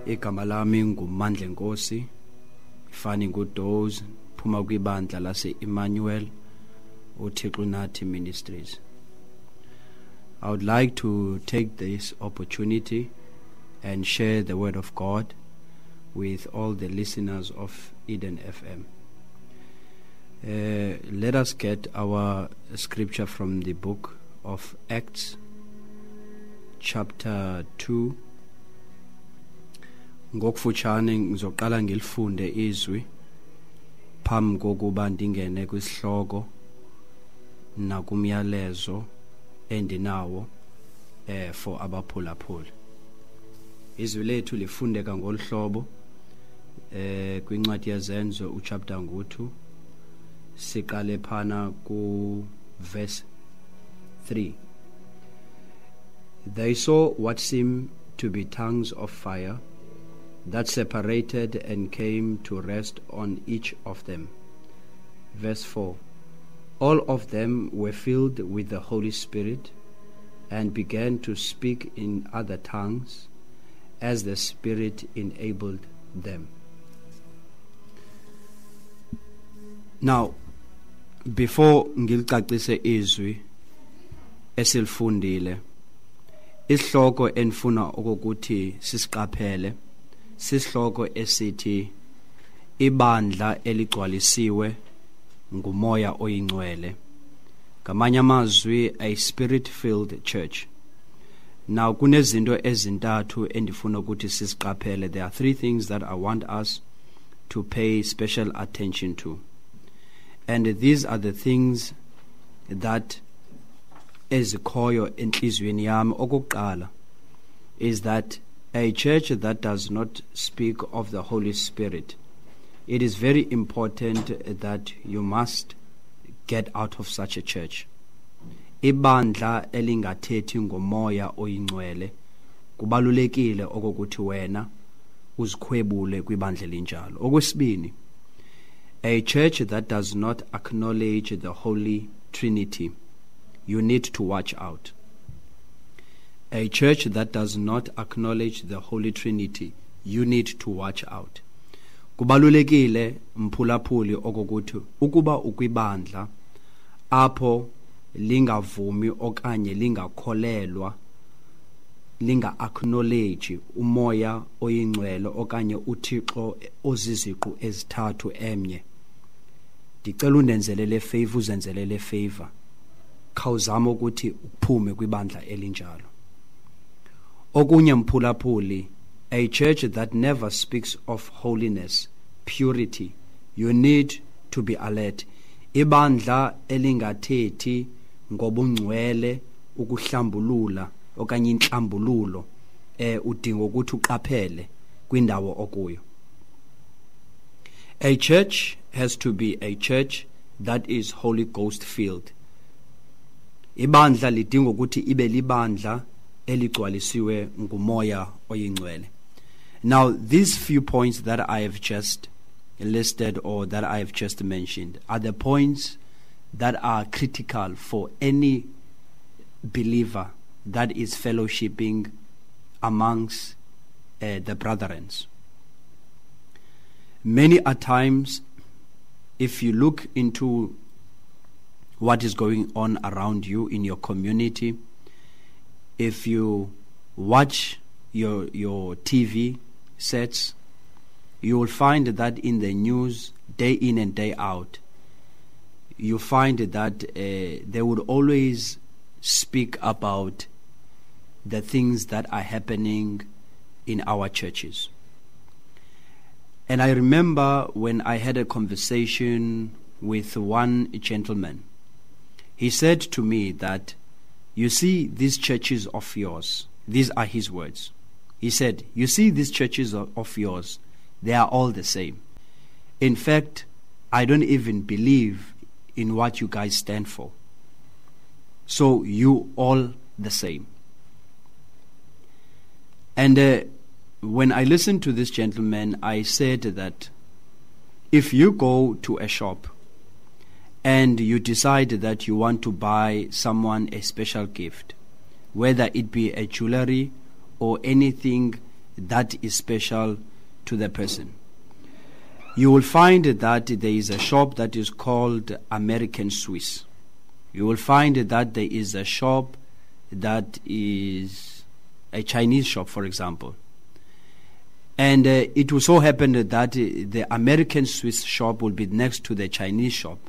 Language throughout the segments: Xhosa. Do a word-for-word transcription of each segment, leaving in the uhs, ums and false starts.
Igama lami nguMandlenkosi, ifani nguDoze, phuma kwibandla lase Emmanuel uThixo Nathi Ministries. I would like to take this opportunity and share the word of God with all the listeners of Eden F M. Uh, let us get our scripture from the book of Acts, chapter two. Ngokufutshane ngizoqala ngilifunde izwi phambi kokuba ndingene kwisihloko nakumyalezo endinawo eh for abaphulaphuli. Izwi lethu lifundeka ngolhlobo eh kwincwadi yeZenzo uchapter ngu-two, siqale phana ku verse three. They saw what seemed to be tongues of fire that separated and came to rest on each of them. Verse four. All of them were filled with the Holy Spirit and began to speak in other tongues as the Spirit enabled them. Now, before ngilicacise izwi esilifundile, isihloko enifuna okokuthi sisiqaphele sisihloko esithi ibandla eligcwalisiwe ngumoya oyingcwele. Ngamanye amazwi, a spirit-filled church. Now, kunezinto ezintathu endifuna ukuthi sisiqaphele. There are three things that I want us to pay special attention to. And these are the things that ezikhoyo enhliziyweni yami. Okokuqala is that a church that does not speak of the Holy Spirit, it is very important that you must get out of such a church. Ibandla elingathethi ngomoya oyingcwele, kubalulekile okokuthi wena uzikhwebule kwibandla elinjalo. Okwesibini, a church that does not acknowledge the Holy Trinity, you need to watch out. A church that does not acknowledge the Holy Trinity, you need to watch out. Kubalulekile mphulaphuli okokuthi ukuba ukwibandla apho lingavumi okanye lingakholelwa, linga acknowledge umoya oyingcwele okanye uThixo oziziqu ezithathu emnye, ndicela undenzele le favor, uzenzele le favor, khawuzama ukuthi uphume kwibandla elinjalo. Okunye mphulaphuli, a church that never speaks of holiness, purity, you need to be alert. Ibandla elingathethi ngobungcwele, ukuhlambulula okanye inhlambululo, eh udinga ukuthi uqaphele kwindawo okuyo. A church has to be a church that is Holy Ghost filled. Ibandla lidinga ukuthi ibe libandla eligcwalisiwe ngumoya oyingcwele. Now, these few points that I have just listed or that I have just mentioned are the points that are critical for any believer that is fellowshipping amongst, uh, the brethren. Many a times, if you look into what is going on around you in your community, if you watch your, your T V sets, you will find that in the news, day in and day out, you find that, uh, they would always speak about the things that are happening in our churches. And I remember when I had a conversation with one gentleman, he said to me that, you see these churches of yours, these are his words. He said, you see these churches of yours, they are all the same. In fact, I don't even believe in what you guys stand for. So you all the same. And, uh, when I listened to this gentleman, I said that if you go to a shop and you decide that you want to buy someone a special gift, whether it be a jewelry or anything that is special to the person. You will find that there is a shop that is called American Swiss. You will find that there is a shop that is a Chinese shop, for example. And uh, it will so happen that the American Swiss shop will be next to the Chinese shop.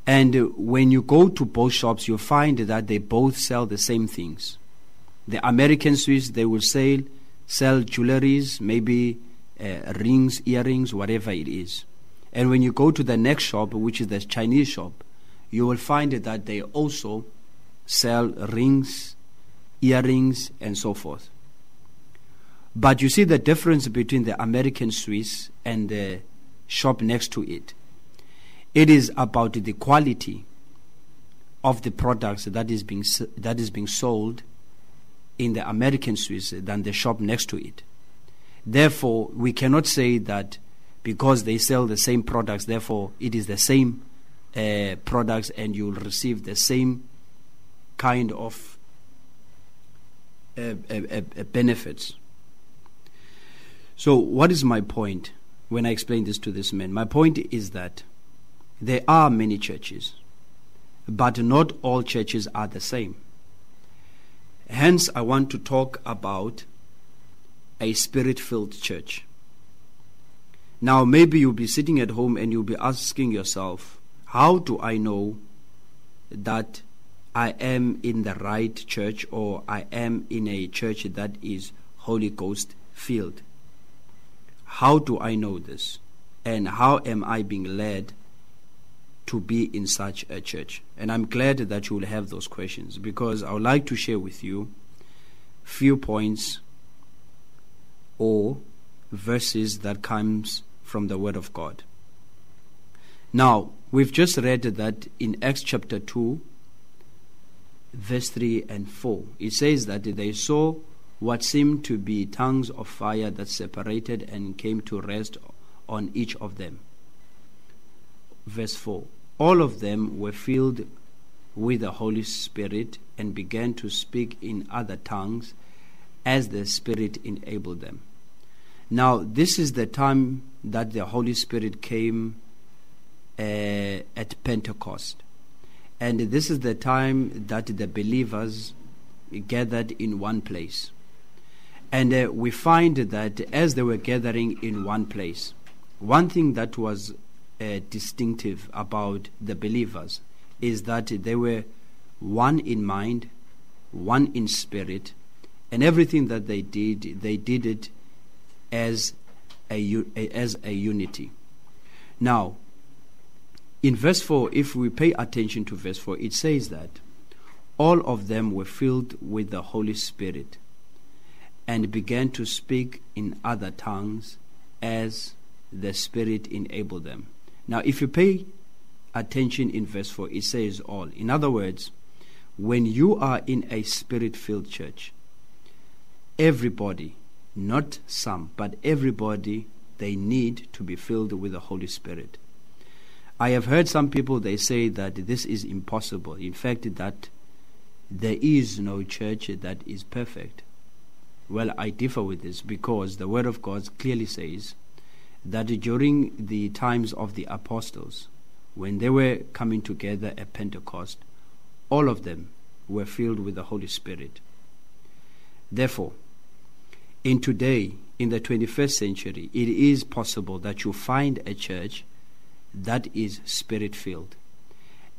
And when you go to both shops, you find that they both sell the same things. The American Swiss, they will sell, sell jewelries, maybe uh, rings, earrings, whatever it is. And when you go to the next shop, which is the Chinese shop, you will find that they also sell rings, earrings, and so forth. But you see the difference between the American Swiss and the shop next to it. It is about the quality of the products that is being that is being sold in the American Swiss than the shop next to it. Therefore, we cannot say that because they sell the same products, therefore it is the same uh, products and you'll receive the same kind of uh, uh, uh, benefits. So what is my point when I explain this to this man? My point is that there are many churches, but not all churches are the same. Hence, I want to talk about a spirit-filled church. Now, maybe you'll be sitting at home and you'll be asking yourself, how do I know that I am in the right church, or I am in a church that is Holy Ghost filled? How do I know this? And how am I being led to be in such a church? And I'm glad that you will have those questions, because I would like to share with you few points or verses that comes from the Word of God. Now, we've just read that in Acts chapter two, verse three and four, it says that they saw what seemed to be tongues of fire that separated and came to rest on each of them. Verse four, all of them were filled with the Holy Spirit and began to speak in other tongues as the Spirit enabled them. Now, this is the time that the Holy Spirit came uh, at Pentecost. And this is the time that the believers gathered in one place. And uh, we find that as they were gathering in one place, one thing that was uh, distinctive about the believers is that they were one in mind, one in spirit, and everything that they did, they did it as a, as a unity. Now, in verse four, if we pay attention to verse four, it says that all of them were filled with the Holy Spirit and began to speak in other tongues as the Spirit enabled them. Now, if you pay attention in verse four, it says all. In other words, when you are in a Spirit-filled church, everybody, not some, but everybody, they need to be filled with the Holy Spirit. I have heard some people, they say that this is impossible. In fact, that there is no church that is perfect. Well, I differ with this, because the Word of God clearly says that during the times of the apostles, when they were coming together at Pentecost, all of them were filled with the Holy Spirit. Therefore, in today, in the twenty-first century, it is possible that you find a church that is Spirit-filled.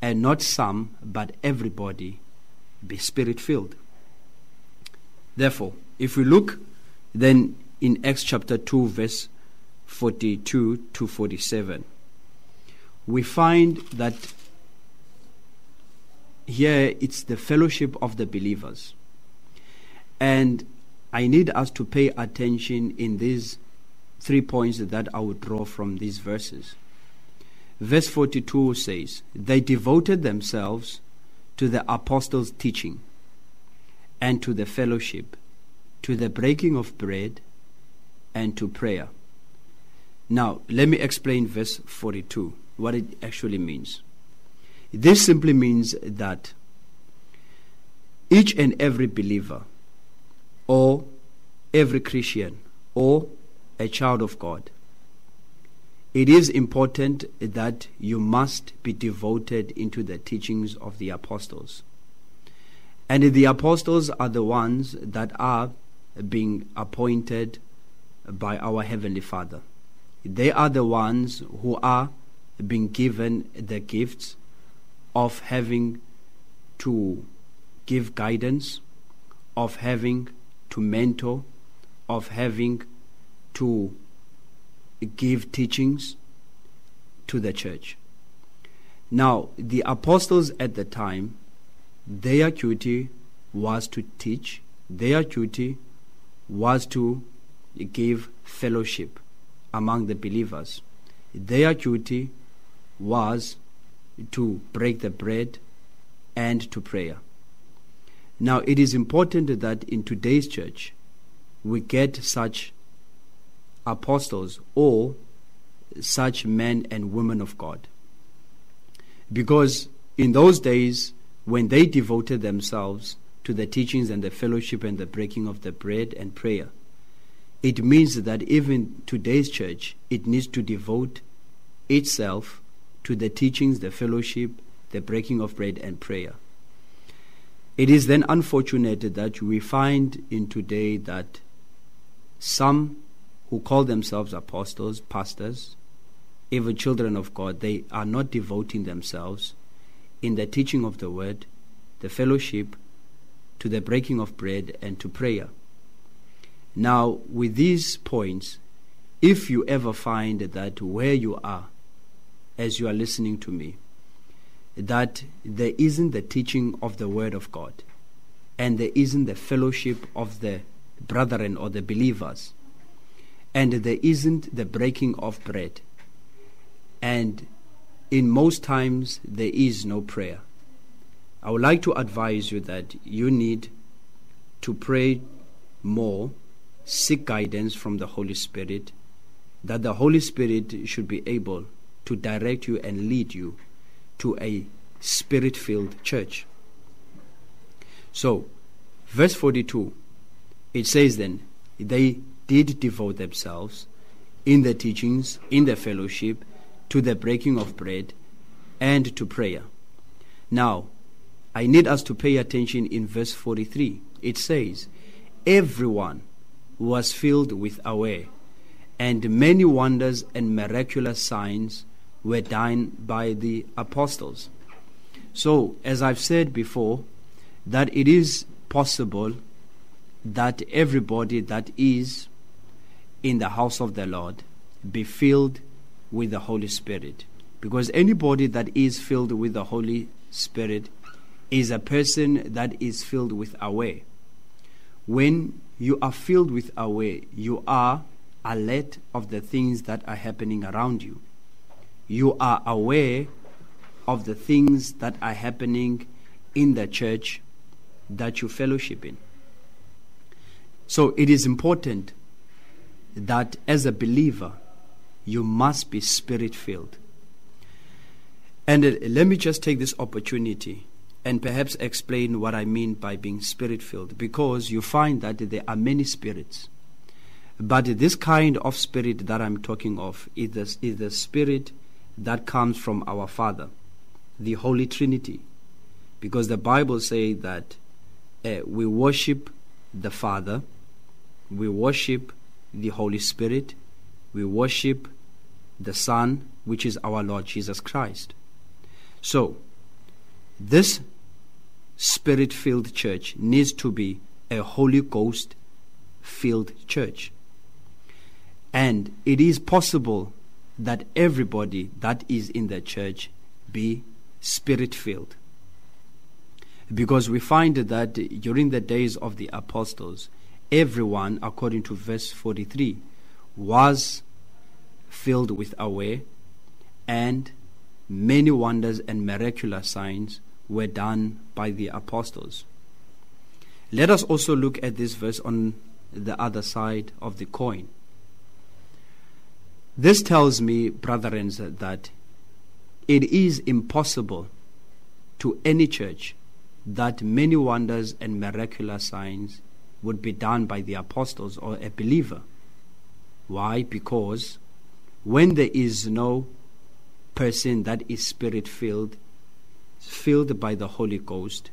And not some, but everybody be Spirit-filled. Therefore, if we look then in Acts chapter two, verse forty-two to forty-seven, we find that here it's the fellowship of the believers. And I need us to pay attention in these three points that I would draw from these verses. Verse forty-two says, they devoted themselves to the apostles' teaching and to the fellowship, to the breaking of bread, and to prayer. Now, let me explain verse forty-two, what it actually means. This simply means that each and every believer or every Christian or a child of God, it is important that you must be devoted into the teachings of the apostles. And the apostles are the ones that are being appointed by our Heavenly Father. They are the ones who are being given the gifts of having to give guidance, of having to mentor, of having to give teachings to the church. Now, the apostles at the time, their duty was to teach, their duty was to give fellowship among the believers. Their duty was to break the bread and to prayer. Now, it is important that in today's church, we get such apostles or such men and women of God. Because in those days, when they devoted themselves to the teachings and the fellowship and the breaking of the bread and prayer, it means that even today's church, it needs to devote itself to the teachings, the fellowship, the breaking of bread and prayer. It is then unfortunate that we find in today that some who call themselves apostles, pastors, even children of God, they are not devoting themselves in the teaching of the word, the fellowship, to the breaking of bread and to prayer. Now, with these points, if you ever find that where you are, as you are listening to me, that there isn't the teaching of the word of God, and there isn't the fellowship of the brethren or the believers, and there isn't the breaking of bread, and in most times there is no prayer, I would like to advise you that you need to pray more, seek guidance from the Holy Spirit, that the Holy Spirit should be able to direct you and lead you to a spirit-filled church. So, verse forty-two, it says then, they did devote themselves in the teachings, in the fellowship, to the breaking of bread, and to prayer. Now, I need us to pay attention in verse forty-three. It says, everyone was filled with awe, and many wonders and miraculous signs were done by the apostles. So, as I've said before, that it is possible that everybody that is in the house of the Lord be filled with the Holy Spirit. Because anybody that is filled with the Holy Spirit is a person that is filled with awe. When you are filled with awe, you are alert of the things that are happening around you. You are aware of the things that are happening in the church that you fellowship in. So it is important that as a believer, you must be spirit-filled. And let me just take this opportunity and perhaps explain what I mean by being spirit-filled, because you find that there are many spirits. But this kind of spirit that I'm talking of is the, is the spirit that comes from our Father, the Holy Trinity. Because the Bible says that uh, we worship the Father, we worship the Holy Spirit, we worship the Son, which is our Lord Jesus Christ. So, this spirit-filled church needs to be a Holy Ghost-filled church. And it is possible that everybody that is in the church be spirit-filled. Because we find that during the days of the apostles, everyone, according to verse forty-three, was filled with awe, and many wonders and miraculous signs were done by the apostles. Let us also look at this verse on the other side of the coin. This tells me, brethren, that it is impossible to any church that many wonders and miraculous signs would be done by the apostles or a believer. Why? Because when there is no person that is spirit-filled, filled by the Holy Ghost,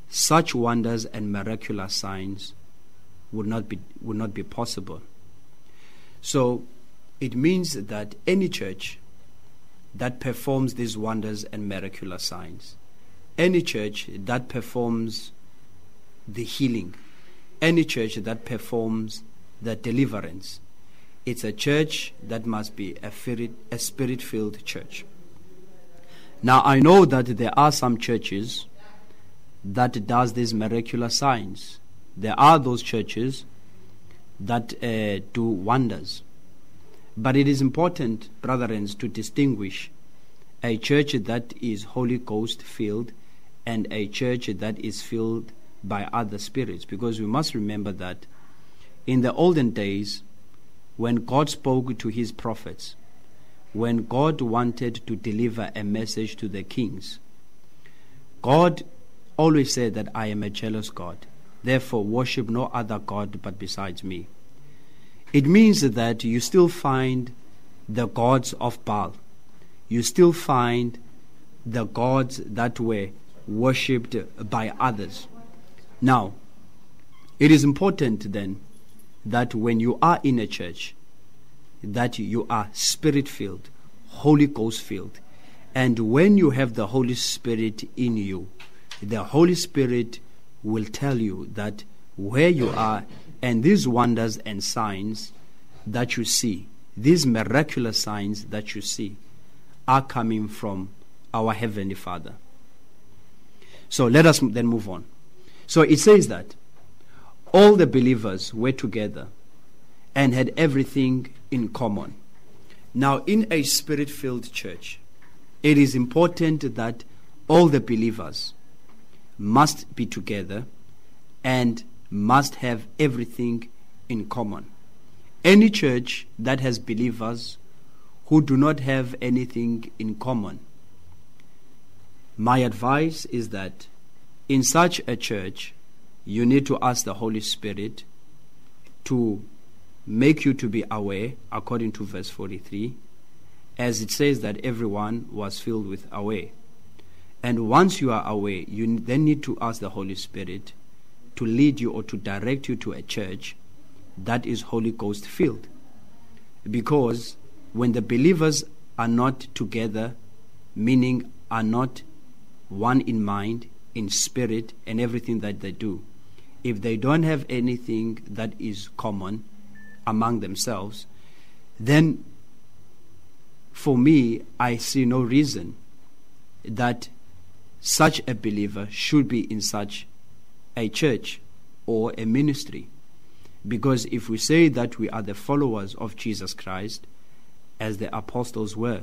such wonders and miraculous signs would not be, would not be possible. So it means that any church that performs these wonders and miraculous signs, any church that performs the healing, any church that performs the deliverance, it's a church that must be a spirit, a spirit-filled church. Now, I know that there are some churches that does these miraculous signs. There are those churches that, uh, do wonders. But it is important, brethren, to distinguish a church that is Holy Ghost filled and a church that is filled by other spirits. Because we must remember that in the olden days, when God spoke to his prophets, when God wanted to deliver a message to the kings, God always said that I am a jealous God. Therefore, worship no other God but besides me. It means that you still find the gods of Baal. You still find the gods that were worshipped by others. Now, it is important then that when you are in a church, that you are spirit-filled, Holy Ghost-filled. And when you have the Holy Spirit in you, the Holy Spirit will tell you that where you are, and these wonders and signs that you see, these miraculous signs that you see, are coming from our Heavenly Father. So let us then move on. So it says that all the believers were together and had everything in common. Now, in a spirit-filled church, it is important that all the believers must be together and must have everything in common. Any church that has believers who do not have anything in common, my advice is that in such a church, you need to ask the Holy Spirit to make you to be aware, according to verse forty-three, as it says that everyone was filled with aware. And once you are aware, you then need to ask the Holy Spirit to lead you or to direct you to a church that is Holy Ghost filled. Because when the believers are not together, meaning are not one in mind, in spirit, and everything that they do, if they don't have anything that is common among themselves, then for me, I see no reason that such a believer should be in such a church or a ministry. Because if we say that we are the followers of Jesus Christ, as the apostles were,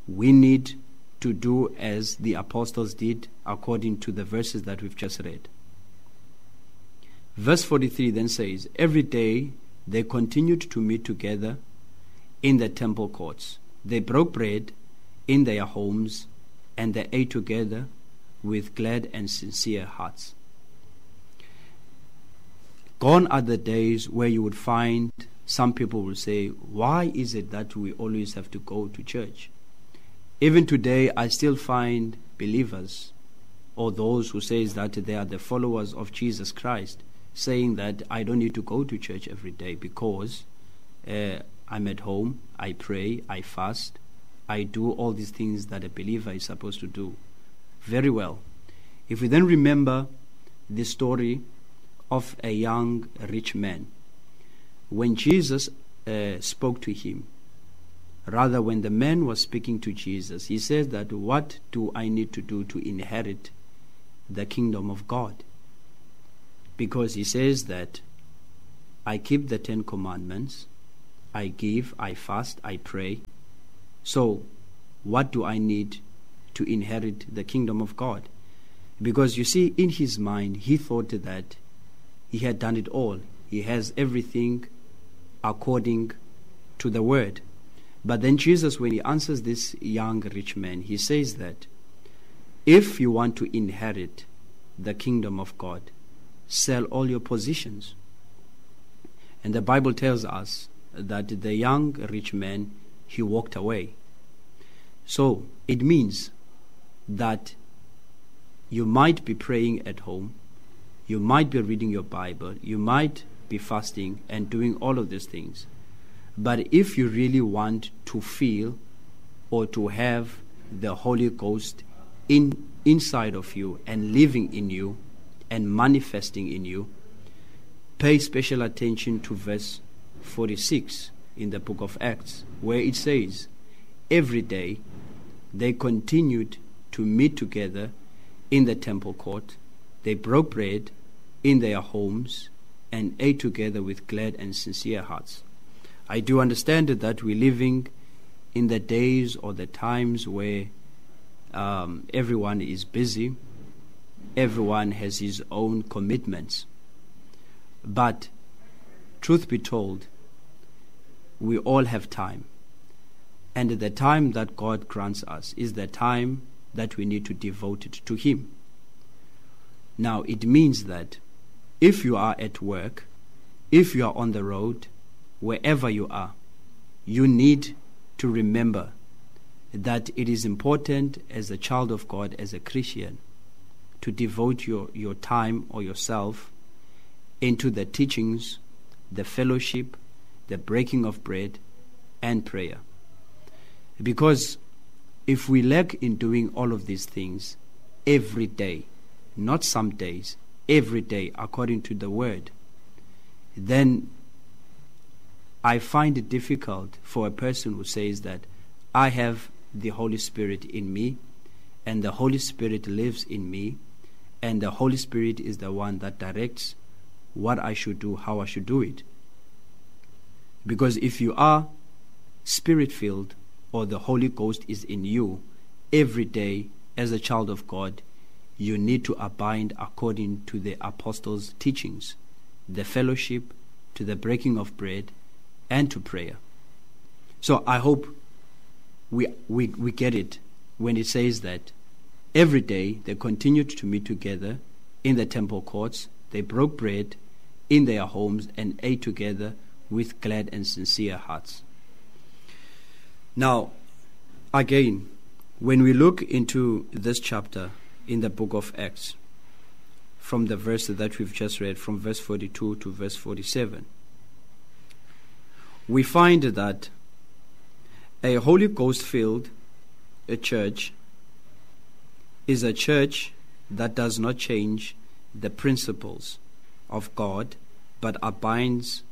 we need to do as the apostles did according to the verses that we've just read. Verse forty-three then says, every day they continued to meet together in the temple courts. They broke bread in their homes and they ate together with glad and sincere hearts. Gone are the days where you would find some people will say, why is it that we always have to go to church? Even today, I still find believers or those who say that they are the followers of Jesus Christ saying that I don't need to go to church every day because, uh, I'm at home, I pray, I fast, I do all these things that a believer is supposed to do. Very well. If we then remember the story of a young rich man, when Jesus, uh, spoke to him, rather when the man was speaking to Jesus, he says that what do I need to do to inherit the kingdom of God? Because he says that I keep the Ten Commandments, I give, I fast, I pray. So what do I need to inherit the kingdom of God? Because you see, in his mind, he thought that he had done it all. He has everything according to the word. But then Jesus, when he answers this young rich man, he says that if you want to inherit the kingdom of God, sell all your possessions. And the Bible tells us that the young rich man, he walked away. So it means that you might be praying at home, you might be reading your Bible, you might be fasting and doing all of these things. But if you really want to feel or to have the Holy Ghost in inside of you and living in you and manifesting in you, pay special attention to verse forty-six in the book of Acts, where it says, every day they continued to meet together in the temple court. They broke bread in their homes and ate together with glad and sincere hearts. I do understand that we're living in the days or the times where um, everyone is busy, everyone has his own commitments. But truth be told, we all have time. And the time that God grants us is the time that we need to devote it to Him. Now, it means that if you are at work, if you are on the road, wherever you are, you need to remember that it is important as a child of God, as a Christian, to devote your, your time or yourself into the teachings, the fellowship, the breaking of bread, and prayer. Because if we lack in doing all of these things every day, not some days, every day according to the word, then I find it difficult for a person who says that I have the Holy Spirit in me, and the Holy Spirit lives in me, and the Holy Spirit is the one that directs what I should do, how I should do it. Because if you are spirit-filled, or the Holy Ghost is in you, every day as a child of God, you need to abide according to the apostles' teachings, the fellowship, to the breaking of bread, and to prayer. So I hope we, we, we get it when it says that every day they continued to meet together in the temple courts, they broke bread in their homes and ate together with glad and sincere hearts. Now, again, when we look into this chapter in the book of Acts, from the verse that we've just read, from verse forty-two to verse forty-seven, we find that a Holy Ghost-filled a church is a church that does not change the principles of God, but abides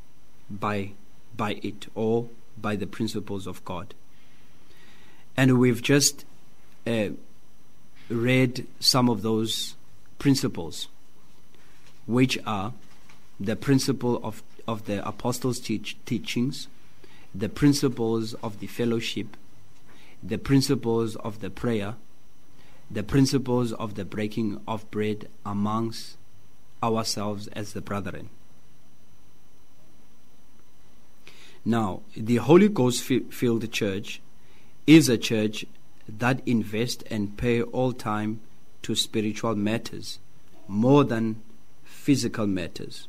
by, by it, or by the principles of God. And we've just uh, read some of those principles, which are the principle of, of the apostles' teach, teachings, the principles of the fellowship, the principles of the prayer, the principles of the breaking of bread amongst ourselves as the brethren. Now, the Holy Ghost-filled church is a church that invests and pay all time to spiritual matters more than physical matters.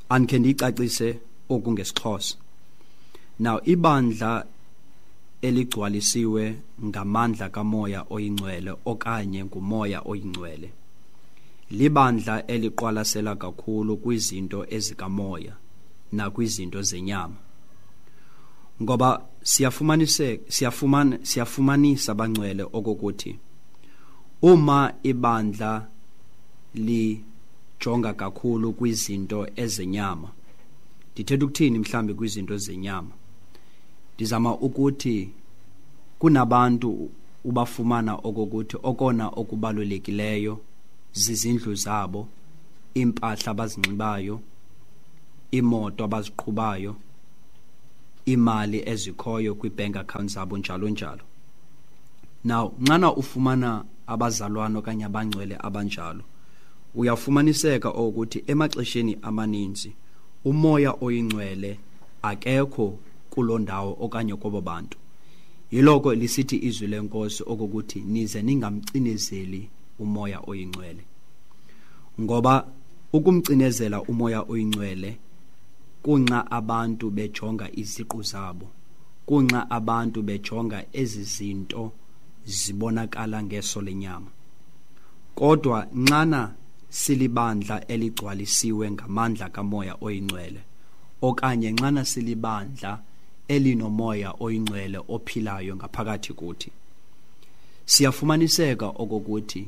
Andikhe ndiyicacise oku ngesiXhosa. Now, ibandla eligcwalisiwe ngamandla kaMoya oyiNgcwele okanye nguMoya oyiNgcwele libandla eliqwalasela kakhulu kwizinto ezikamoya nakwizinto zenyama. Ngoba siyafumanise siyafumana siyafumanisa bangcwele okokuthi uma ibandla lijonga kakhulu kwizinto ezenyama, ndithetha ukuthini mhlambi kwizinto zenyama, ndizama ukuthi kunabantu ubafumana okokuthi okona okubalulekileyo zizindlu zabo, impahla abazinxibayo, imoto abaziqhubayo, imali ezikhoyo kwi-bank account zabo, njalo njalo. Now, nxana ufumana abazalwane okanye abangcwele abanjalo, uyafumaniseka ukuthi emaxesheni amaninzi uMoya oyiNgcwele akekho kuloo ndawo okanye kobo bantu. Yiloko lisithi izwi leNkosi okokuthi nize ningamcinezeli uMoya oyiNgcwele, ngoba Ukumcinezela uMoya oyiNgcwele kunxa abantu bejonga iziqu zabo, kunxa abantu bejonga ezi zinto zibonakala ngeso lenyama. Kodwa nxana silibandla eligcwalisiwe ngamandla kaMoya oyiNgcwele, okanye nxana silibandla elinoMoya oyiNgcwele ophilayo ngaphakathi kuthi, siyafumaniseka okokuthi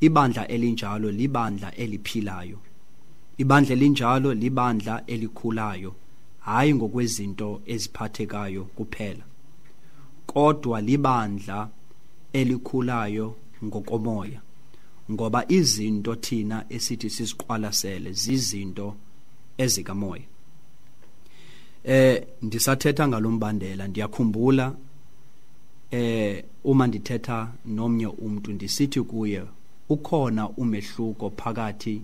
ibandla elinjalo libandla eliphilayo. Ibandla elinjalo libandla elikhulayo, hayi ngokwezinto eziphathekayo kuphela, kodwa libandla elikhulayo ngokomoya, ngoba izinto thina esithi siziqwalasele zizinto ezikamoya. Eh ndisathetha ngalombandela, ndiyakhumbula eh uma ndithetha nomnye umuntu ndisithi kuye ukhona umehluko phakathi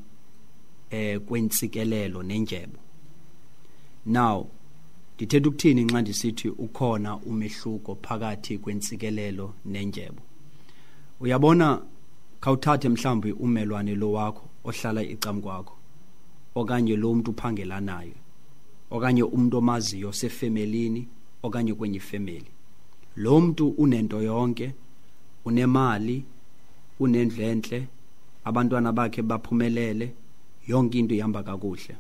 eh kwentsikelelo nendyebo. Now ndithetha ukuthini nxa ndisithi ukhona umehluko phakathi kwentsikelelo nendyebo? Uyabona, khawuthathe mhlawumbi umelwane lo wakho ohlala icam kwakho, okanye lo muntu uphangela naye, okanye umuntu omaziyo sefemelini okanye kwenye ifemeli. Lo muntu unento yonke, unemali, unendlu entle, abantwana bakhe baphumelele, yonke into ihamba kakuhle.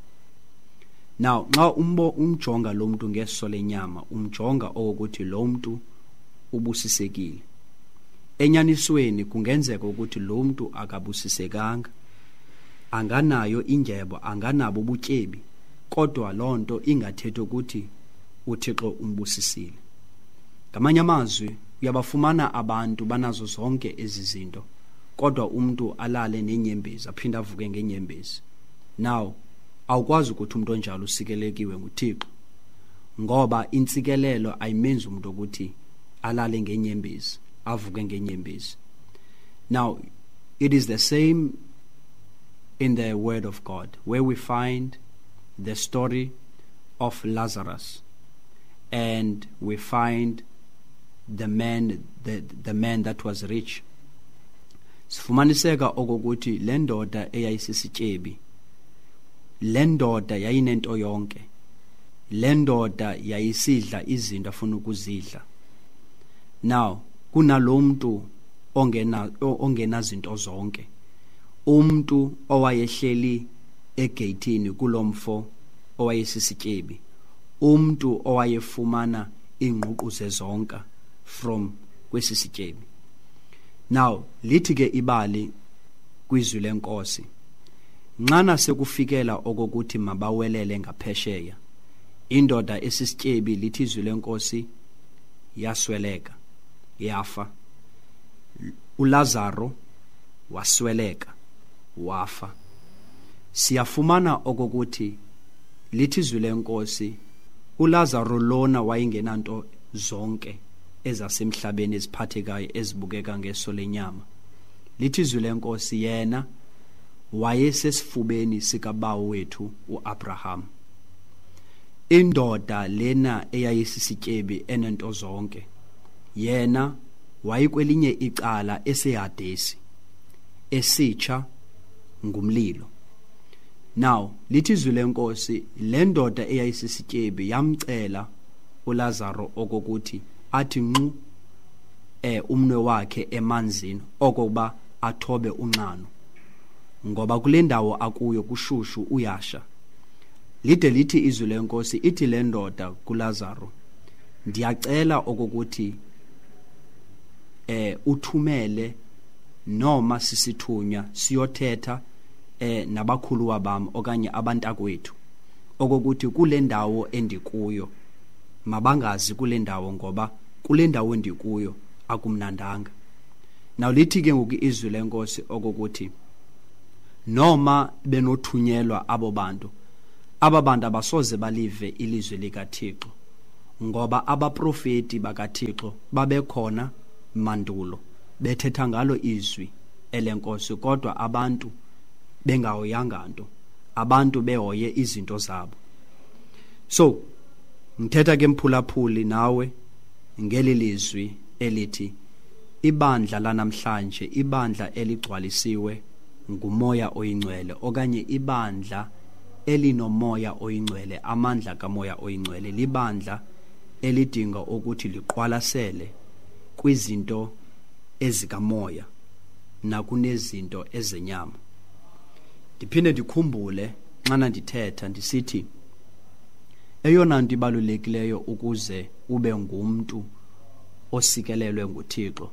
Now nxa umbo umjonga lo muntu ngeso lenyama, umjonga okokuthi lo muntu ubusisekile. Enyanisweni kungenzeka ukuthi lo muntu akabusisekanga, anganayo indyebo, anganabo ubutyebi, kodwa loo nto ingathethi ukuthi uThixo umbusisile. Ngamanye amazwi, uyabafumana abantu banazo zonke ezi zinto, kodwa umuntu alale nenyembezi aphinde avuke ngenyembezi. Now awukwazi ukuthi umuntu onjalo usikelekiwe nguThixo, ngoba intsikelelo ayimenzi umuntu ukuthi alale ngenyembezi avuke ngenyembezi. Now it is the same in the word of God, where we find the story of Lazarus, and we find the man, the, the man that was rich. Sifumaniseka okokuthi le ndoda eyayisisityebi, le ndoda yayinento yonke, le ndoda yayisidla izinto afuna ukuzidla. Now kunalomuntu ongena ongenazinto zonke, umuntu owayehleli egeyithini kulomfo owayesisityebi, umuntu owayefumana ingququ zezonka from kwesisityebi. Now lithi ke ibali kwizwi lenkosi, nxana sekufikela okokuthi mabawelele ngaphesheya, indoda esisityebi lithi izwi lenkosi yasweleka, yafa. uLazaro wasweleka, wafa. Siyafumana okokuthi lithi izwi lenkosi uLazaro lona wayengenanto zonke ezasemhlabeni eziphathekayo ezibukeka ngeso lenyama. Lithi izwi lenkosi yena wayesesifubeni sikabawo wethu uAbraham. Indoda lena eyayisisityebi enento zonke, yena wayekwelinye icala eseHadesi, esitsha ngumlilo. Now lithi izwi lenkosi le ndoda eyayisisityebi yamcela uLazaro okokuthi athi nqu eh umnwe wakhe emanzini okokuba athobe unxano, ngoba kule ndawo akuyo kushushu uyasha. Lide lithi izwi lenkosi, ithi le ndoda kuLazaro, ndiyacela okokuthi eh uthumele noma sisithunywa siyothetha eh nabakhuluwa bami okanye abantakwethu okokuthi kule ndawo endikuyo mabangazi kule ndawo, ngoba kule ndawo endikuyo akumnandanga. Now lithi ke ngoku izwi lenkosi okokuthi noma benothunyelwa abo bantu, aba bantu abasoze balive ilizwi likaThixo, ngoba abaprofeti bakaThixo babekhona mandulo bethetha ngalo izwi elenkosi, kodwa abantu bengahoyanga nto, abantu behoye izinto zabo. So ngithetha ke mphulaphuli nawe ngeli lizwi elithi ibandla lanamhlanje, ibandla eligcwalisiwe nguMoya oyiNgcwele okanye ibandla elinoMoya oyiNgcwele, amandla kaMoya oyiNgcwele, libandla elidinga ukuthi liqwalasele kwizinto ezikamoya nakunezinto ezenyama. Ndiphinde ndikhumbule xana ndithetha ndisithi eyona nto ibalulekileyo ukuze ube ngumntu osikelelwe nguThixo,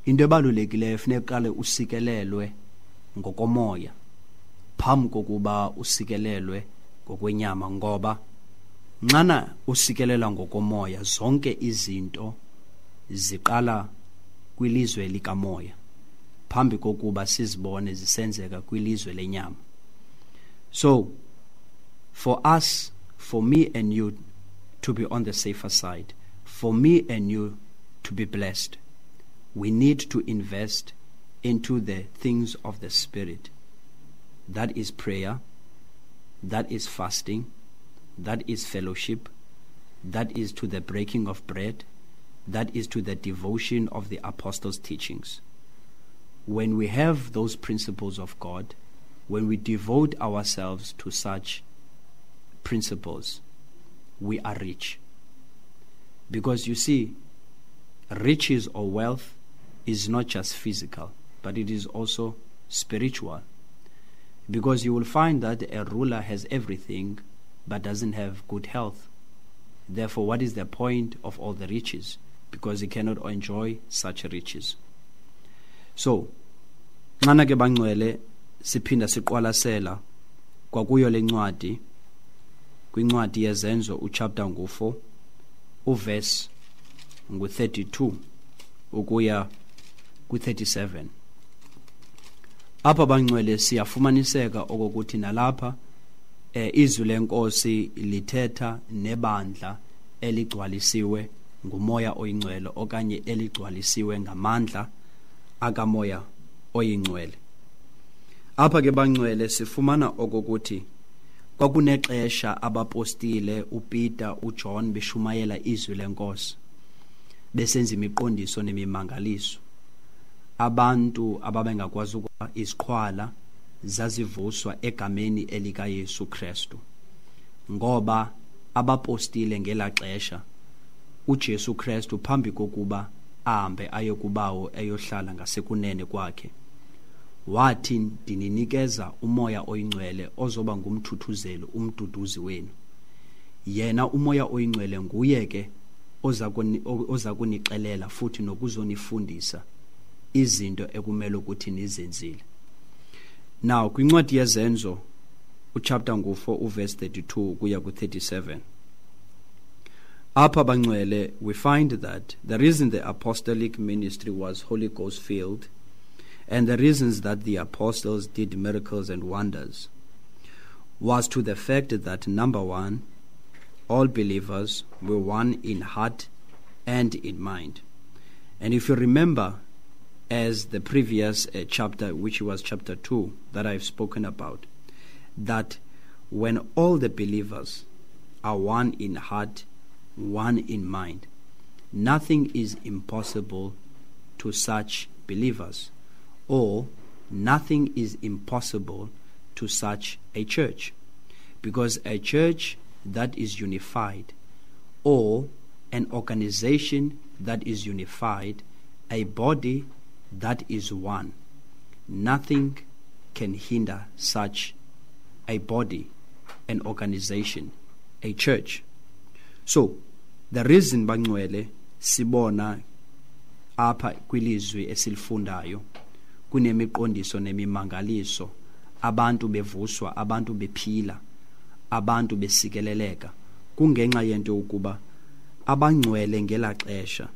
into ebalulekileyo funeka uqale usikelelwe ngokomoya phambi kokuba usikelelwe ngokwenyama, ngoba nxana usikelela ngokomoya zonke izinto ziqala kwilizwe likamoya phambi kokuba sizibone zisenzeka kwilizwe lenyama. So for us, for me and you to be on the safer side, for me and you to be blessed, we need to invest into the things of the Spirit. That is prayer, that is fasting, that is fellowship, that is to the breaking of bread, that is to the devotion of the apostles' teachings. When we have those principles of God, when we devote ourselves to such principles, we are rich. Because you see, riches or wealth is not just physical, but it is also spiritual. Because you will find that a ruler has everything but doesn't have good health. Therefore, what is the point of all the riches? Because he cannot enjoy such riches. So, nxana ke bangcwele siphinda siqwalasela kwakuyo lencwadi, kwincwadi yeZenzo uchapter ngu four uverse ngu thirty-two ukuya ku thirty-seven. Apha bangcwele siyafumaniseka okokuthi nalapha eh, izwi lenkosi lithetha nebandla eligcwalisiwe nguMoya oyiNgcwele okanye eligcwalisiwe ngamandla akaMoya oyiNgcwele. Apha ke bangcwele sifumana okokuthi kwakunexesha abapostile uPeter uJohn beshumayela izwi lenkosi, besenza imiqondiso nemimangaliso. Abantu ababengakwazi ukuba iziqhwala zazivuswa egameni elikaYesu Kristu, ngoba abapostile ngelaxesha uJesu Kristu phambi kokuba ahambe aye kubawo eyohlala ngasekunene kwakhe, wathi ndininikeza uMoya oyiNgcwele ozoba ngumthuthuzeli, umduduzi wenu. Yena uMoya oyiNgcwele nguye ke oza kunixelela futhi nokuzonifundisa izinto ekumele ukuthi nizenzile. Now kwincwadi yeZenzo uchapter ngu four uverse thirty-two kuya ku thirty-seven, apha bangcwele we find that the reason the apostolic ministry was Holy Ghost filled and the reasons that the apostles did miracles and wonders was to the fact that, number one, all believers were one in heart and in mind. And if you remember, as the previous uh, chapter, which was chapter two that I've spoken about, that when all the believers are one in heart, one in mind, nothing is impossible to such believers, or nothing is impossible to such a church. Because a church that is unified, or an organization that is unified, a body that is one, nothing can hinder such a body, an organization, a church. So, the reason bangcwele sibona apha kwilizwi esilifundayo kunemiqondiso nemimangaliso, abantu bevuswa, abantu bephila, abantu besikeleleka, kungenxa yento ukuba abangcwele ngelaxesha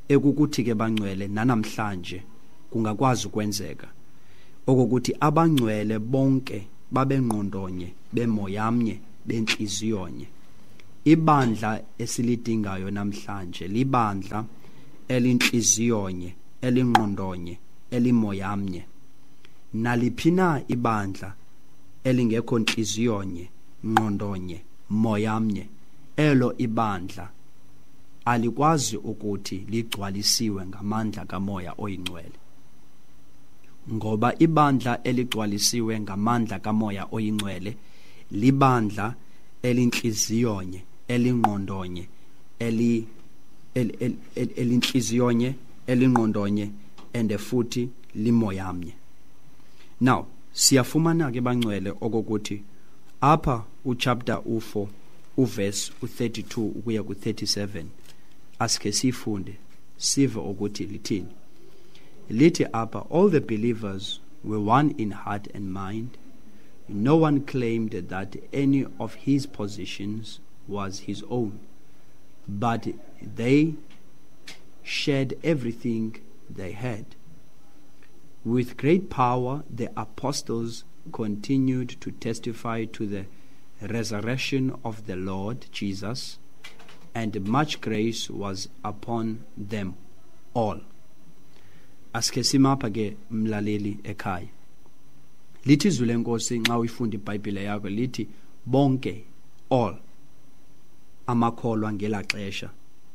ekukuthi ke bangcwele nanamhlanje kungakwazi ukwenzeka okokuthi abangcwele bonke babengqondonye, bemoyamnye, benhliziyonye. Ibandla esilidingayo namhlanje libandla elinhliziyonye, elingqondonye, elimoyamnye. Naliphi na ibandla elingekho nhliziyonye, ngqondonye, moyamnye, elo ibandla alikwazi ukuthi ligcwalisiwe ngamandla kaMoya oyiNgcwele. Ngoba ibandla eligcwalisiwe ngamandla kaMoya oyiNgcwele libandla elinhliziyonye, elingqondonye, eli elinhliziyonye, elingqondonye and futhi limoyamnye. Now siyafumana ke bangcwele okokuthi apha uchapter u-four uverse u-thirty-two ukuya ku-thirty-seven, asike sifunde sive ukuthi lithini. Lithi apha, all the believers were one in heart and mind. No one claimed that any of his possessions was his own, but they shared everything they had. With great power, the apostles continued to testify to the resurrection of the Lord Jesus, and much grace was upon them all. Asike simapha ke mlaleli ekhaya. Lithi izwi lenkosi nxa uyifunda iBhayibhile yakho, lithi bonke, all, amakholwa ngela xesha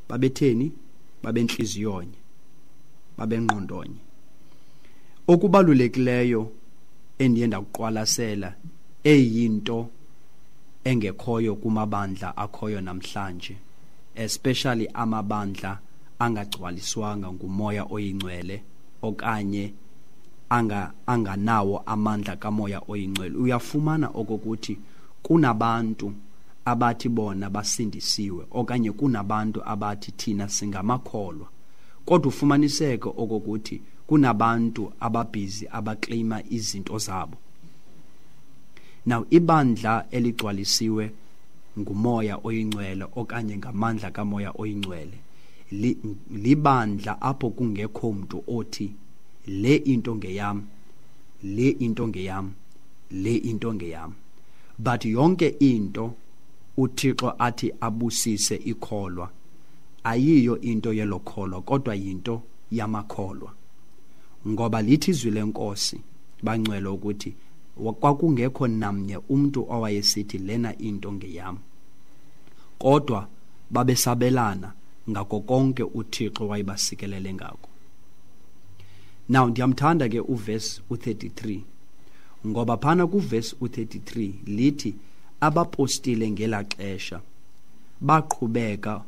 babetheni? Babenhliziyonye, babengqondonye. Okubalulekileyo endiye ndakuqwalasela eyinto engekhoyo kumabandla akhoyo namhlanje, especially amabandla angagcwaliswanga nguMoya oyiNgcwele okanye anga anganawo amandla kaMoya oyiNgcwele, uyafumana okokuthi kunabantu abathi bona basindisiwe okanye kunabantu abathi thina singamakholwa, kodwa ufumaniseke okokuthi kunabantu ababhizi abakleyima izinto zabo. Now ibandla eligcwalisiwe nguMoya oyiNgcwele okanye ngamandla kaMoya oyiNgcwele libandla apho kungekho mntu othi le into ngeyam, le into ngeyam, le into ngeyam, but yonke into uThixo athi abusise ikholwa ayiyo into yelokholwa, kodwa yinto yamakholwa. Ngoba lithi izwi lenkosi bangcwele ukuthi kwakungekho namnye umuntu owayesithi lena into ngeyam, kodwa babesabelana ngako konke uThixo wayebasikelele ngako. Now ndiyamthanda ke uverse u-thirty-three, ngoba phana kuverse u-thirty-three lithi abapostile ngela xesha baqhubeka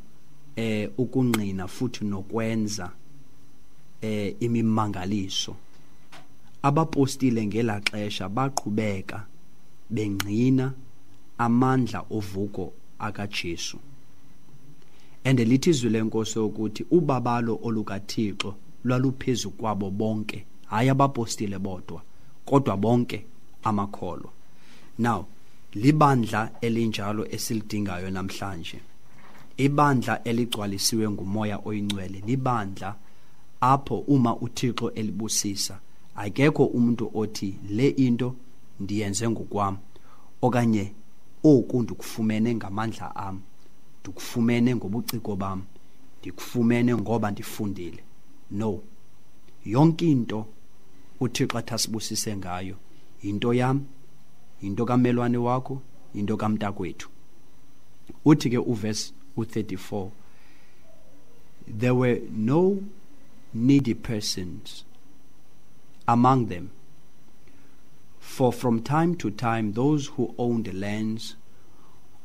eh ukungqina futhi nokwenza eh imimangaliso. Abapostile ngela xesha baqhubeka bengqina amandla ovuko akaJesu. And lithi izwi lenkosi ukuthi ubabalo olukaThixo lwaluphezu kwabo bonke, hayi abapostile bodwa, kodwa bonke amakholwa. Now libandla elinjalo esilidingayo namhlanje, ibandla eligcwalisiwe nguMoya oyiNgcwele, libandla apho uma uThixo elibusisa akekho umuntu othi le into ndiyenze ngokwami okanye oku ndikufumene ngamandla am, ndikufumene ngobuciko bam, ndikufumene ngoba ndifundile. No, yonke into uThixo athi asibusise ngayo yinto yam, yinto kamelwane wakho, yinto kamntakwethu. Uthi ke uverse u-thirty-four, there were no needy persons among them, for from time to time those who owned lands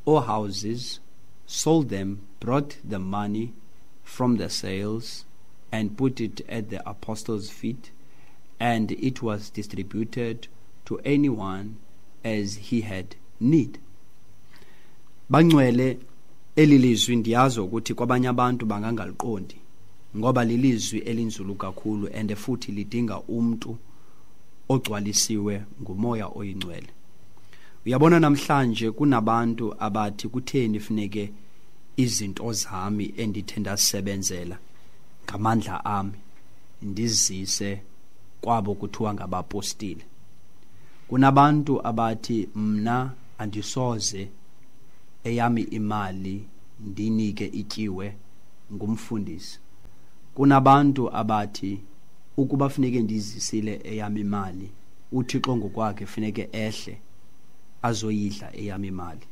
or houses sold them, brought the money from the sales and put it at the apostles' feet, and it was distributed to anyone as he had need. Bangcwele, elilizwi ndiyazi ukuthi kwabanye abantu bangangaliqondi ngoba lilizwi elinzulu kakhulu and futhi lidinga umuntu ogcwalisiwe nguMoya oyiNgcwele. Uyabona namhlanje kunabantu abathi kutheni funeke izinto zami endithe ndasebenzela ngamandla ami ndizise kwabo kuthiwa ngabapostile. Kunabantu abathi mna andisoze eyami imali ndinike ityiwe ngumfundisi. Kunabantu abathi ukuba funeke ndizisile eyami imali, uThixo ngokwakhe funeke ehle azoyidla eyami imali.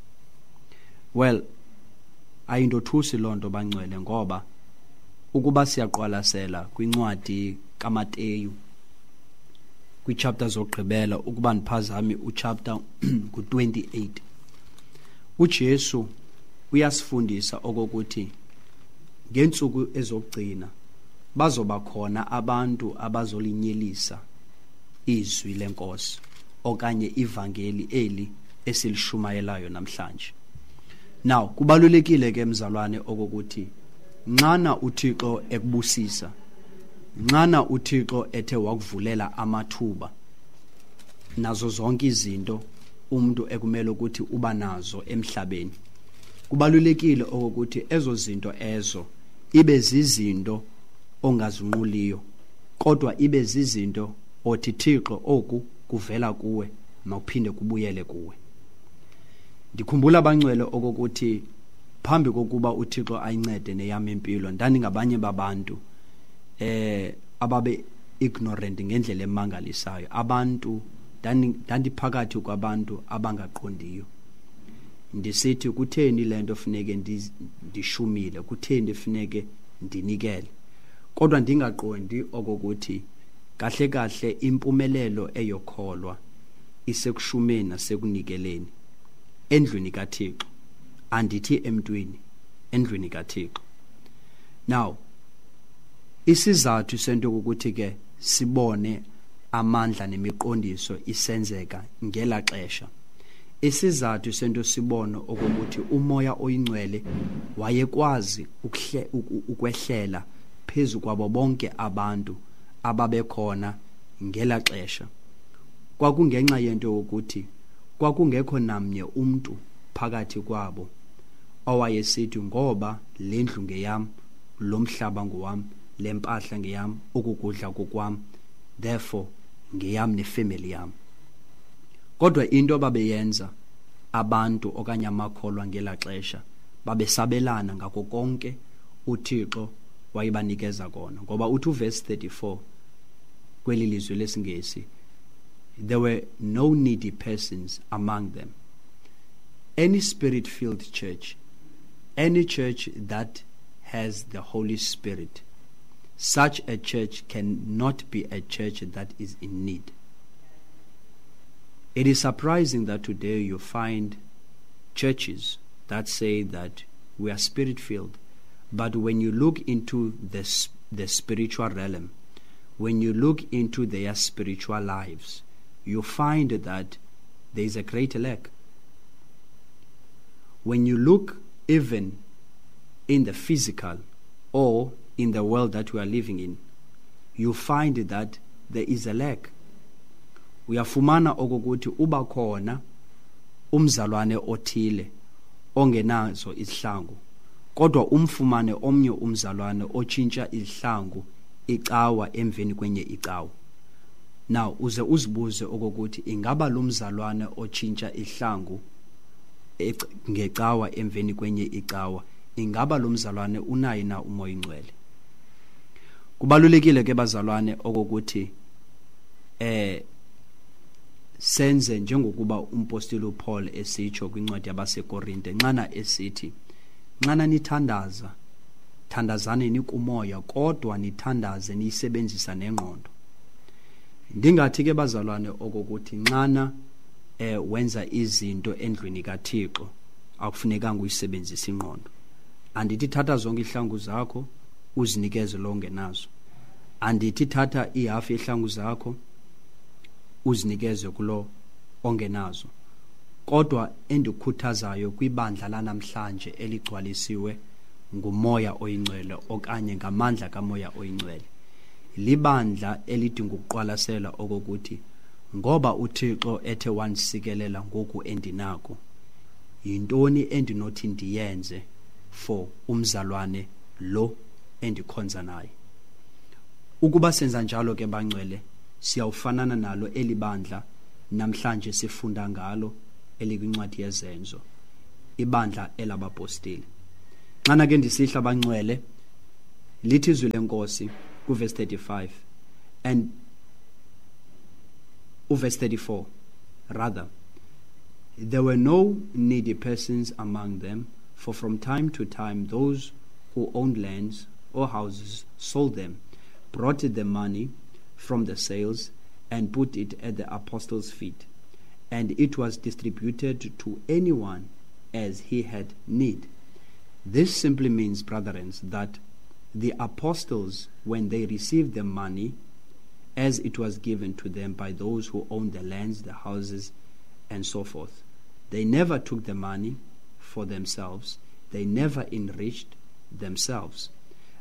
Well, ayindothusi loo nto bangcwele, ngoba ukuba siyaqwalasela kwincwadi kaMateyu, kwichapter zokugqibela, ukuba ndiphazami uchapter ngu twenty-eight, uJesu uyasifundisa okokuthi ngeentsuku ezokugcina bazoba khona abantu abazolinyelisa izwi lenkosi okanye ivangeli eli esilishumayelayo namhlanje. Now kubalulekile ke mzalwane okokuthi nxana uThixo ekubusisa, nxana uThixo ethe wakuvulela amathuba nazo zonke izinto umuntu ekumele ukuthi uba nazo emhlabeni, kubalulekile okokuthi ezo zinto ezo ibe zizinto ongazinquliyo, kodwa ibe zizinto othi Thixo oku kuvela kuwe, makuphinde kubuyele kuwe. Ndikhumbula abangcwele okokuthi phambi kokuba uThixo ayincede neyam impilo, ndandingabanye babantu eh ababe ignorant ngendlela emangalisayo. Abantu ndandiphakathi kwabantu abangaqondiyo, ndisithi kutheni le nto funeke ndishumile, kutheni funeke ndinikele, kodwa ndingaqondi okokuthi kahle kahle impumelelo eyokholwa isekushumeni nasekunikeleni endlwini kaThixo, andithi emntwini, endlwini kaThixo. Now isizathu sento ukuthi ke sibone amandla nemiqondiso isenzeka ngela xesha, isizathu sento sibone okokuthi umoya oyingcwele wayekwazi ukwehlela phezu kwabo bonke abantu ababekhona ngela xesha, kwakungenxa yento yokuthi kwakungekho namnye umntu phakathi kwabo owayesithi ngoba le ndlu ngeyam, lo mhlaba ngowam, le mpahla ngeyam, ukukudla kokwam, therefore ngeyam nefamily yam. Kodwa into ababeyenza abantu okanye amakholwa ngela xesha, babesabelana ngako konke uThixo wayebanikeza kona. Ngoba uthi uverse thirty-four kweli lizwi lesiNgesi, there were no needy persons among them. Any spirit-filled church, any church that has the Holy Spirit, such a church cannot be a church that is in need. It is surprising that today you find churches that say that we are spirit-filled, but when you look into the, the spiritual realm, when you look into their spiritual lives, you find that there is a great lack. When you look even in the physical or in the world that we are living in, you find that there is a lack. Uyafumana okokuthi uba khona umzalwane othile ongenazo izihlangu, kodwa umfumane omnye umzalwane otshintsha izihlangu icawa emveni kwenye icawa. Now uze uzibuze okokuthi ingaba lo mzalwane otshintsha ihlangu ngecawa emveni kwenye icawa, ingaba lo mzalwane unaye na umoya oyingcwele? Kubalulekile ke bazalwane okokuthi eh senze njengokuba umpostile uPaul esitsho kwincwadi yabaseKorinte, nxana esithi nxana nithandaza, thandazani nikumoya, kodwa nithandaze niyisebenzisa nengqondo. Ndingathi ke bazalwane okokuthi nxana eh wenza izinto endlwini kaThixo akufunekanga uyisebenzise ingqondo. Andithi thatha zonke ihlangu zakho uzinikeze lo ongenazo. Andithi thatha ihafu yehlangu zakho uzinikeze kulo ongenazo. Kodwa endikukhuthazayo kwibandla lanamhlanje eligcwalisiwe ngumoya oyingcwele okanye ngamandla kamoya oyingcwele, libandla elidinga ukuqwalasela okokuthi ngoba uThixo ethe wandisikelela ngoku endinako, yintoni endinothi ndiyenze for umzalwane lo endikhonza naye? Ukuba senza njalo ke bangcwele, siyawufanana nalo elibandla namhlanje sifunda ngalo elikwincwadi yeZenzo, ibandla elabapostile. Xana ke ndisihla bangcwele, lithi izwi lenkosi kuverse thirty-five and uverse thirty-four rather, there were no needy persons among them, for from time to time those who owned lands or houses sold them, brought the money from the sales, and put it at the apostles' feet. And it was distributed to anyone as he had need. This simply means, brethren, that the apostles, when they received the money, as it was given to them by those who owned the lands, the houses, and so forth, they never took the money for themselves. They never enriched themselves.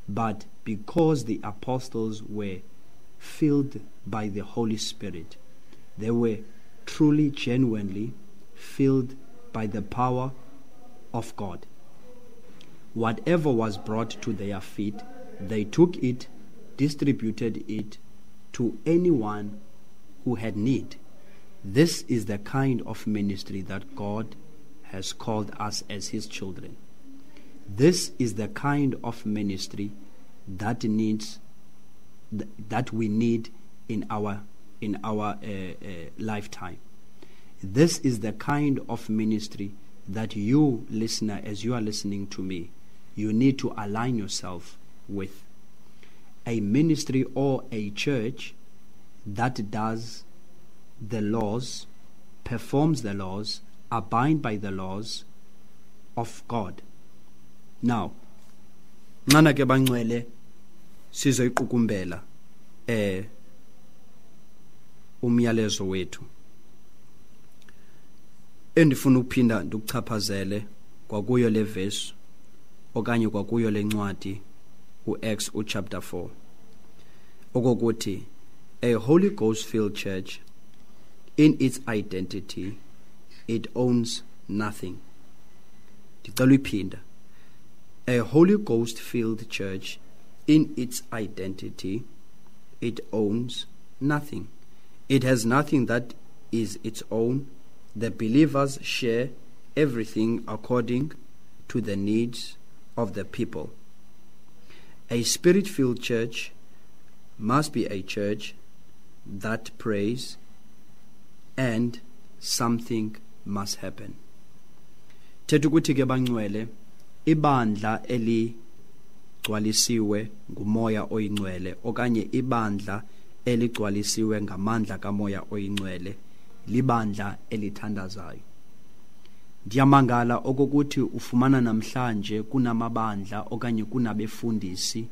But because the apostles were filled by the Holy Spirit, they were truly, genuinely filled by the power of God. Whatever was brought to their feet, they took it, distributed it to anyone who had need. This is the kind of ministry that God has called us as His children. This is the kind of ministry that needs, that we need in our in our uh, uh, lifetime. This is the kind of ministry that you, listener, as you are listening to me, you need to align yourself with. A ministry or a church that does the laws, performs the laws, abide by the laws of God. Now, nxana ke bangcwele sizoyiqukumbela eh umyalezo wethu. Endifuna ukuphinda ndikuchaphazele kwakuyo le verse okanye kwakuyo le ncwadi uActs uchapter four, okokuthi a Holy Ghost filled church in its identity it owns nothing. Ndicela uyiphinda. A Holy Ghost filled church in its identity it owns nothing. It has nothing that is its own. The believers share everything according to the needs of the people. A spirit-filled church must be a church that prays, and something must happen. Thetha ukuthi ke bangcwele, ibandla eligcwalisiwe ngumoya oyingcwele okanye ibandla eligcwalisiwe ngamandla kamoya oyingcwele libandla elithandazayo. Ndiyamangala okokuthi ufumana namhlanje kunamabandla okanye kunabefundisi,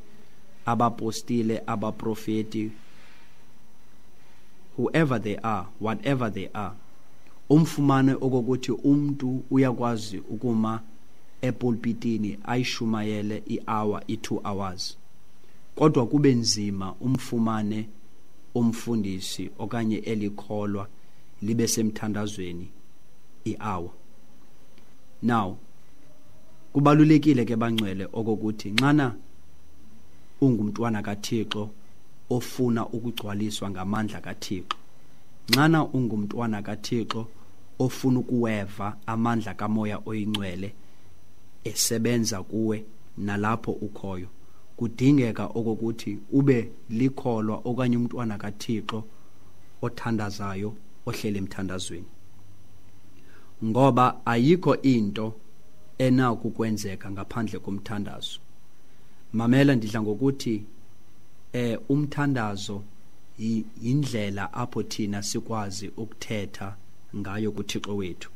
abapostile, abaprofeti, whoever they are, whatever they are, umfumane okokuthi umntu uyakwazi ukuma epulpitini ayishumayele i-hour, i-two hours, kodwa kube nzima umfumane umfundisi okanye elikholwa libe semthandazweni i-hour. Now, kubalulekile ke bangcwele okokuthi nxana ungumntwana kaThixo ofuna ukugcwaliswa ngamandla kaThixo, nxana ungumntwana kaThixo ofuna ukuweva amandla kamoya oyingcwele esebenza kuwe nalapho ukhoyo, kudingeka okokuthi ube likholwa okanye umntwana kaThixo othandazayo, ohlele emthandazweni, ngoba ayikho into enako ukwenzeka ngaphandle komthandazo. Mamela, ndidla ngokuthi eh umthandazo yindlela apho thina sikwazi ukuthetha ngayo kuThixo wethu.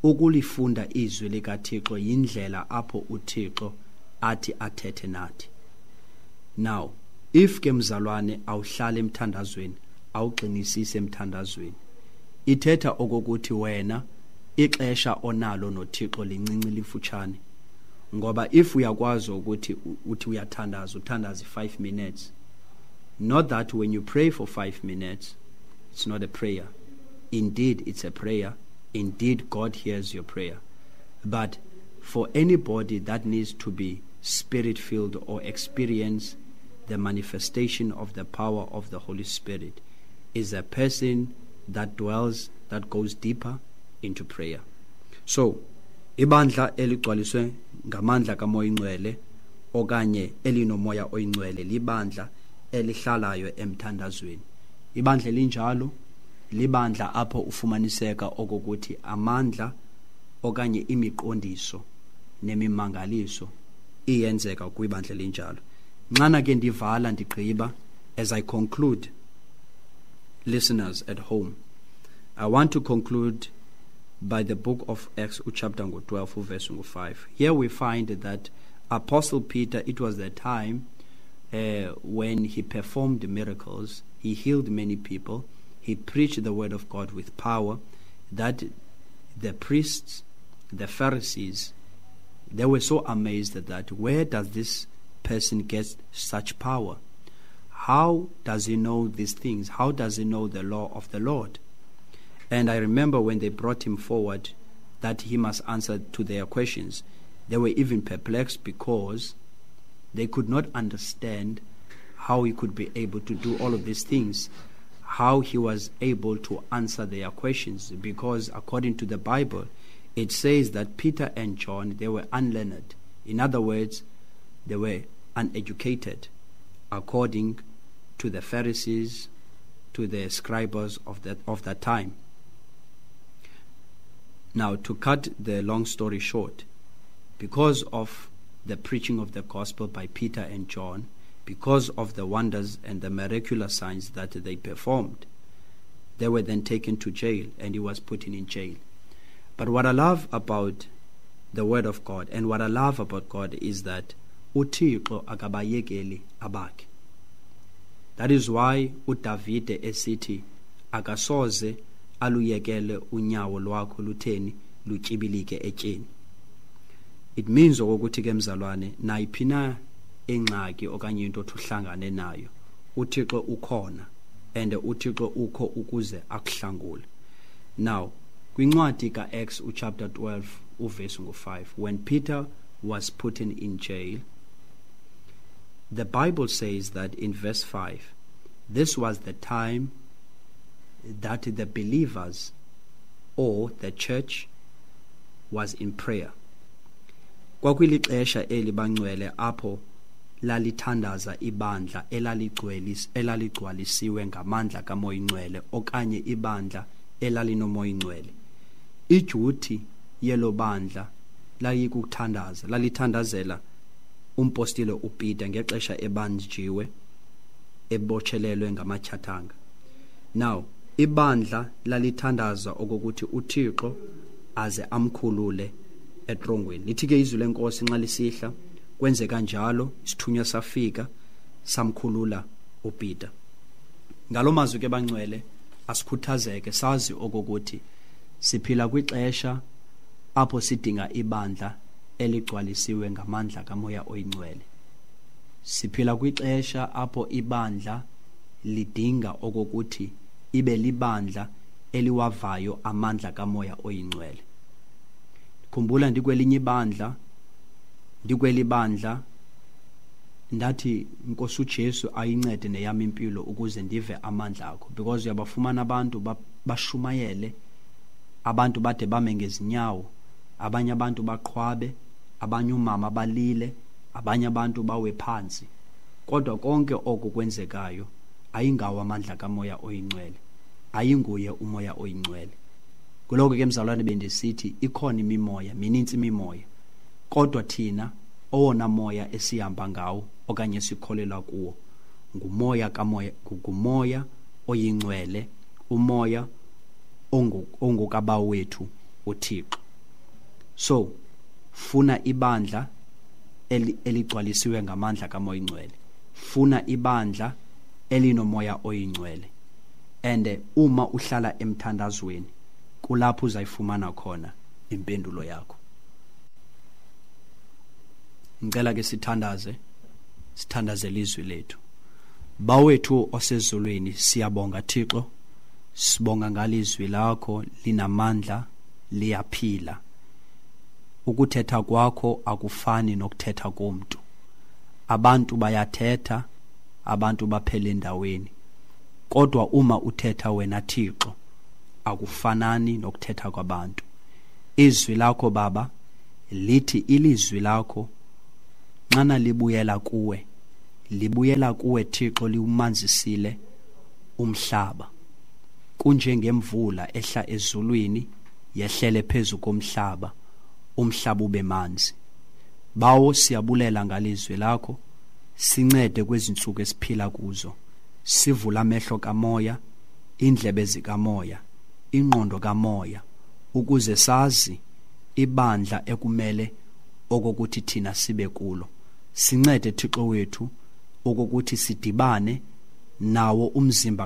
Ukulifunda izwi likaThixo yindlela apho uThixo athi athethe nathi. Now, if ke mzalwane awuhlale emthandazweni, awugxinisise emthandazweni, ithetha okokuthi wena ixesha onalo noThixo lincinci, lifutshane. Ngoba if uyakwazi ukuthi uthi uyathandaza, uthandaza five minutes, not that when you pray for five minutes it's not a prayer. Indeed, it's a prayer. Indeed, God hears your prayer. But for anybody that needs to be spirit-filled or experience the manifestation of the power of the Holy Spirit, is a person that dwells, that goes deeper into prayer. So, ibandla eligcwaliswe ngamandla kaMoya Oyingcwele okanye elinomoya oyingcwele libandla elihlalayo emthandazweni. Ibandla elinjalo libandla apho ufumaniseka okokuthi amandla okanye imiqondiso nemimangaliso iyenzeka kwibandla elinjalo. Nxana ke ndivala ndigqiba, as I conclude, listeners at home, I want to conclude by the book of Acts, chapter twelve, verse five. Here we find that Apostle Peter, it was the time uh, when he performed miracles, he healed many people, he preached the word of God with power, that the priests, the Pharisees, they were so amazed that where does this person get such power? How does he know these things? How does he know the law of the Lord? And I remember when they brought him forward that he must answer to their questions, they were even perplexed because they could not understand how he could be able to do all of these things, how he was able to answer their questions, because according to the Bible, it says that Peter and John, they were unlearned. In other words, they were uneducated, according to the Pharisees, to the scribes of that, of that time. Now, to cut the long story short, because of the preaching of the gospel by Peter and John, because of the wonders and the miraculous signs that they performed, they were then taken to jail, and he was put in jail. But what I love about the word of God and what I love about God is that uThixo akabayekeli abakhe. That is why uDavide esithi akasoze aluyekele unyawo lwakho lutheni lutyibilike etyeni. It means okokuthi ke mzalwane, nayiphi na ingxaki okanye into othi uhlangane nayo, uThixo ukhona, and uThixo ukho ukuze akuhlangule. Now, kwincwadi kaActs chapter twelve uverse ngu five, when Peter was put in, in jail, the Bible says that in verse five, this was the time that the believers or the church was in prayer. Kwakulixesha eli bangcwele apho lalithandaza ibandla elaligcwelis elaligcwalisiwe ngamandla kaMoya Ingcwele okanye ibandla elalinoMoya Ingcwele. Ijuthi yelo bandla layikuthandaza, lalithandazela umpostile uPeter ngexesha ebanjiwe ebotshelelwe ngamatshathanga. Now, ibandla lalithandaza okokuthi uThixo aze amkhulule etrongweni. Lithi ke izwi lenkosi nxa lisihla, kwenzeka njalo, isithunywa safika samkhulula uPeter. Ngalo mazwi ke bangcwele, asikhuthazeke sazi okokuthi siphila kwixesha apho sidinga ibandla eligcwalisiwe ngamandla kaMoya Oyingcwele. Siphila kwixesha apho ibandla lidinga okokuthi ibe libandla eliwavayo amandla kaMoya Oyingcwele. Khumbula ndikwelinye ibandla, ndikweli bandla ndathi Nkosi uJesu ayincede neyami impilo ukuze ndive amandla akho, because uyabafumana abantu bashumayele, abantu bade bame ngezinyawo, abanye abantu baqhwabe, abanye umama balile, abanye abantu bawe phansi. Kodwa konke oku kwenzekayo ayingawo amandla kaMoya Oyingcwele, ayinguye uMoya Oyingcwele. Kuloko ke mzalwane bendisithi ikhona imimoya, minintsi imimoya, kodwa thina owona moya esihamba ngawo okanye sikholelwa kuwo ngumoya kamoya, ngumoya oyingcwele, umoya ongukabawo wethu uThixo. So funa ibandla eligcwalisiwe ngamandla kaMoya Oyingcwele, funa ibandla elinomoya oyingcwele, and uma uhlala emthandazweni kulapho uzayifumana khona impendulo yakho. Ngicela ke sithandaze, sithandazele izwi lethu. Bawethu osezulwini, siyabonga Thixo, sibonga ngalizwi lakho linamandla, liyaphila. Ukuthetha kwakho akufani nokuthetha komuntu. Abantu bayathetha, abantu baphele endaweni, kodwa uma uthetha wena Thixo akufanani nokuthetha kwabantu. Izwi lakho Baba lithi ilizwi lakho nxana libuyela kuwe, libuyela kuwe Thixo, liwumanzisile umhlaba. Kunjengemvula ehla ezulwini yehlele phezu komhlaba, umhlaba ube manzi. Bawo, siyabulela ngalizwi lakho, sincede kwezinsuku esiphila kuzo, sivula amehlo kamoya, Indlebe zikamoya, ingqondo kamoya, ukuze sazi ibandla ekumele okokuthi thina sibe kulo. Sincede, Thixo wethu, okokuthi sidibane nawo umzimba.